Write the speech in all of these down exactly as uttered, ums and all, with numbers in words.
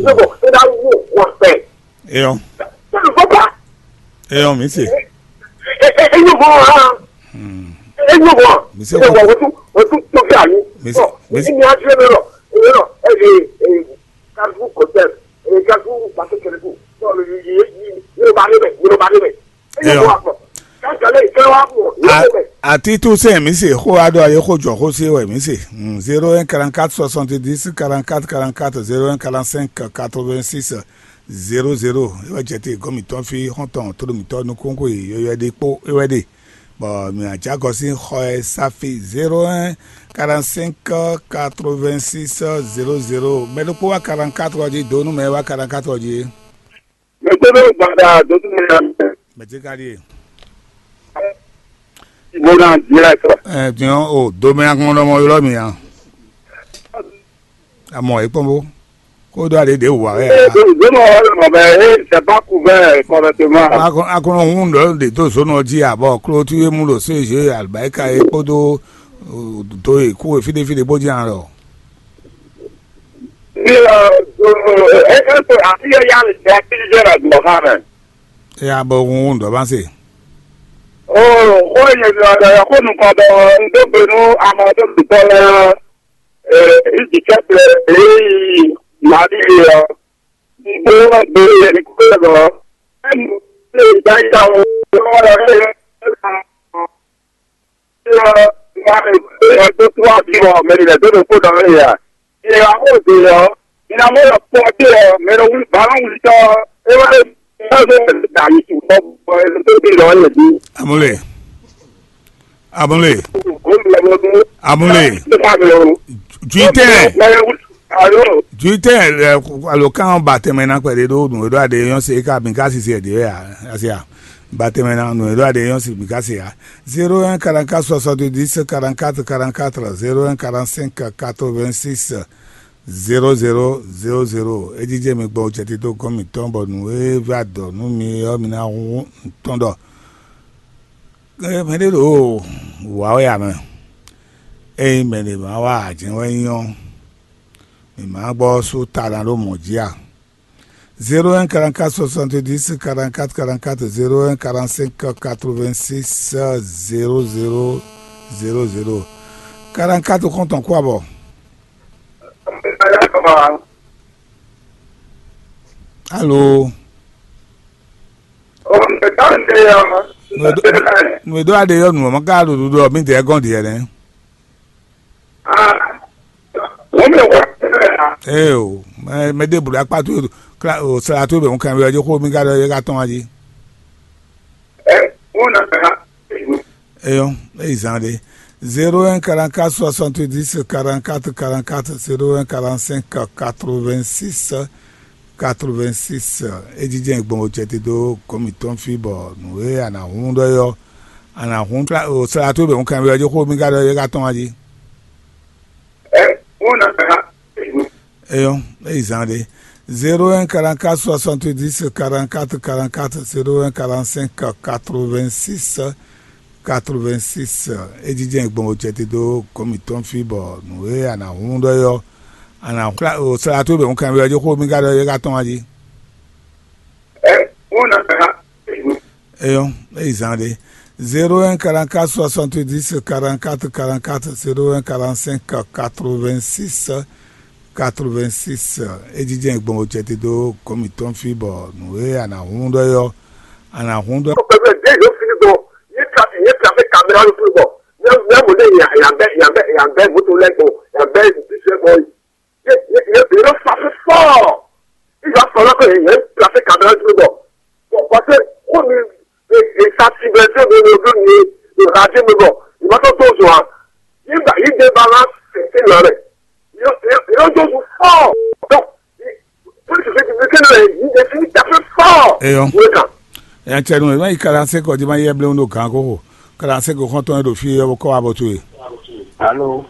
Lọ́bọ̀, ẹ dá wò wọ́n pẹ́. Eyɔn. Sọ́dún bọ́bá. Eyɔn, mi se. Ẹ ẹ ẹ yóò bọ̀ wọ́n hàn. Ẹ yóò bọ̀. Mi se. Ẹ wọ́n wọ́n tún wọ́n tún tó fẹ́ àyè. Mi se. Ọ̀, mi se. Ní adúlé mi lọ, èmi lọ, ẹ lè ẹ kásù kò tẹ̀, ẹ kásù pàṣẹ kẹlẹ́kù. Sọ̀rọ̀ yìí yìí yìí yóò bá débẹ̀, yóò bá débẹ̀. Ẹ yóò bọ̀ àpọ̀. Kájọ lẹ́yìn kí wọ́n á pọ̀. Yóò débẹ̀. Àti tún sẹ́yìn mi se, xó adó ayé xó jọ xó sí wẹ̀ mi se. Zéro un quarante-quatre soixante-dix quarante-quatre quarante-quatre, zéro un quarante-cinq quatre-vingt-six zéro zéro. É wɛ jɛ te gɔ́n mǐtɔn fí xɔ́ntɔn tló mǐtɔn nukúnkún e yɔywɛ ɖé kpó é wɛ ɖe. Bɔ mǐ ná jɛ agɔ sín xɔ e sáfi zéro un quarante-cinq quatre-vingt-six zéro zéro. Mɛ ɖokpó wá quarante-quatre ɔ́ jí, dó nú mɛ e wá quarante-quatre ɔ́ jí é. Mɛ tó ɖo gbada dó tún mɛ. Mɛ tí ka ɖíe. Mo ná direct. Ɛ diɔn o domɛ agbɔnɔ mɔ ylɔ mi a. Amɔ é kpɔn bó. Kó dó aɖé ɖě wǔ wá wɛ. Ee, zónú ɔ́ lɔ mɛ, ee, c'est pas couvert correctement. Akɔnɔ hun ɖɔ ɖe dó zónú ɔ́ jí abɔ klótú e mú ɖo C G albaika e kpódó do e kú e fíɖé fíɖé bó jí an lɔ. Ee, ee, ee, afi yɛ ya le jɛ fi jɛ le gbɔ xa mɛ. E abɔ hun ɖɔ va se. Oo, xó e nyɛ ɖɔ ɖɔ xó nukɔn ɖɔ un dó gbe nú amɔ tó dutɔ lɛ́ɛ. Ee, Izicɛ́plɛ, ee, Mali ɔ́, un kplɔ́n gbe yɛ ní kú lɛ bɔ, ɛ́ nu lé dá yá o, lọ́wọ́ lɔ lé lɔ, lɔ, lɔ, lɔ, tó tó wá bí wɔ, mɛ ní lɛ dó ɖokpó dɔ lé ya. Yɛ wá xó dó lɛ ɔ́, mi ná mɔ lɔ kpɔ́ dé ɔ́, mɛ nɔ wuli bǎ nɔ wuli tɔ́, é wá lé, é wá lé, dǎ yi tu bɔ, bɔ, é lé tó bí lɔ, é lé bí. Amule. Amule. Amule. Juitɛ. Juitɛ, alo kan ba tɛmɛ na kpɛɖe ɖo nǔ e ɖo aɖe yɔn se ka mi ka sisi ɛdi ya asia. Ba tɛmɛ na nǔ e ɖo aɖe yɔn se mi ka se ya. Zéro un quarante-quatre soixante-dix quarante-quatre quarante-quatre, zéro un quarante-cinq quatre-vingt-six zéro zéro zéro zéro. É jijɛ mi gbɔ jɛ tito gɔn mi tɔn bɔ nǔ e va dɔ nú mi ɔ́ mi ná hu tɔn ɖɔ. Mɛ ɖé ɖo wǎ wɛ ǎ mɛ. Ényí mɛ ɖě ma wa jɛ́n wɛ nyí ɔ́, mǐ ma gbɔ sú ta ná ɖo mɔ̌ jí a? Zéro un quarante-quatre soixante-dix quarante-quatre quarante-quatre, zéro un quarante-cinq quatre-vingt-six zéro zéro zéro zéro. Quarante-quatre kɔn tɔn kú abɔ. Alo. Nú e ɖó aɖe yɔ nǔ ɔ́, ma ka ɖo ɖuɖu ɔ́, mǐ dɛɛ gɔ́n ɖiɛ nɛ́. Ee o, mɛ mɛ ɖěbǔ ɖo akpá towe, o sla towe bɛ un kan byɔ́ jí xó mì ka ɖɔ é ka tɔ́n wá jí. Eyɔ́, é yi zán ɖé. Zéro un quarante-quatre soixante-dix quarante-quatre quarante-quatre, zéro un quarante-cinq quatre-vingt-six quatre-vingt-six. É jijɛ gbɔn o cɛ te dó gɔ̌n mǐtɔn fí bɔ nǔ e a nǎ hun ɖɔ é ɔ́, a nǎ hun o sla towe bɛ un kan byɔ́ jí xó mì ka ɖɔ é ka tɔ́n wá jí. Eyɔ́, é yi zán ɖé. Zéro un quarante-quatre soixante-dix quarante-quatre quarante-quatre, zéro un quarante-cinq quatre-vingt-six quatre-vingt-six. É jijɛ gbɔn o cɛ te dó gɔ̌n mǐtɔn fí bɔ nǔ e a nǎ hun ɖɔ é ɔ́, a nǎ hun o sla towe bɛ un kan byɔ́ jí xó mì ka ɖɔ é ka tɔ́n wá jí. Eyɔ́, é yi zán ɖé. Zéro un quarante-quatre soixante-dix quarante-quatre quarante-quatre, zéro un quarante-cinq quatre-vingt-six quatre-vingt-six. É jijɛ gbɔn o cɛ te dó gɔ̌n mǐtɔn fí bɔ nǔ e a nǎ hun ɖɔ é ɔ́, a nǎ hun ɖɔ. Pẹpẹ dé yóò fi gbɔ, yé tra yé tra fẹ́ caméra ló fún gbɔ, yẹ yẹ mo dé yà yà bẹ yà bẹ yà bẹ moto lẹ gbɔ, yà bẹ bisi lẹ gbɔ, yé yé yé yé ló fa fẹ́ fọ́. Ìgbà sọ̀rọ̀ pé yẹn placé caméra dúró bọ̀. Bọ̀ pàṣẹ kó mi èsà tìbẹ̀ tí mi lò dún ní ìhà tí mi bọ̀. Ìmọ́tò tó zò wá. Nígbà yìí dé bá wá tètè lọ rẹ̀. Yóò tó zò fọ́. Dọ̀ pólísì fi ti fi kéde rẹ̀ yìí dé fi dàpé fọ́. Eyɔn. Wọ́n kà. Yɛn cɛ nu ɛ ma yi kalanse kɔ di ma yɛ blewu ɖo gan koko. Kalanse ko xɔntɔn ɖo fi yɛ kɔ wa bɔ to ye. Alo.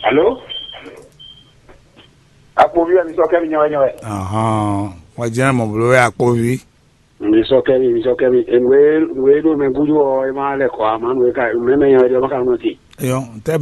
Alo. Akpovi wɛ mi sɔ kɛ mi nyɔwɛ nyɔwɛ. Ahɔn, wọ́n jẹ́ mọ̀ bolo wɛ akpovi. Mi sɔ kɛ mi, mi sɔ kɛ mi. Nwe nwe ɖo mɛ gudu ɔ, e ma lɛ kɔ ama nwe ka mɛ mɛ nyɔwɛ jɔ ma ka nɔ ti. Eyɔn, tɛ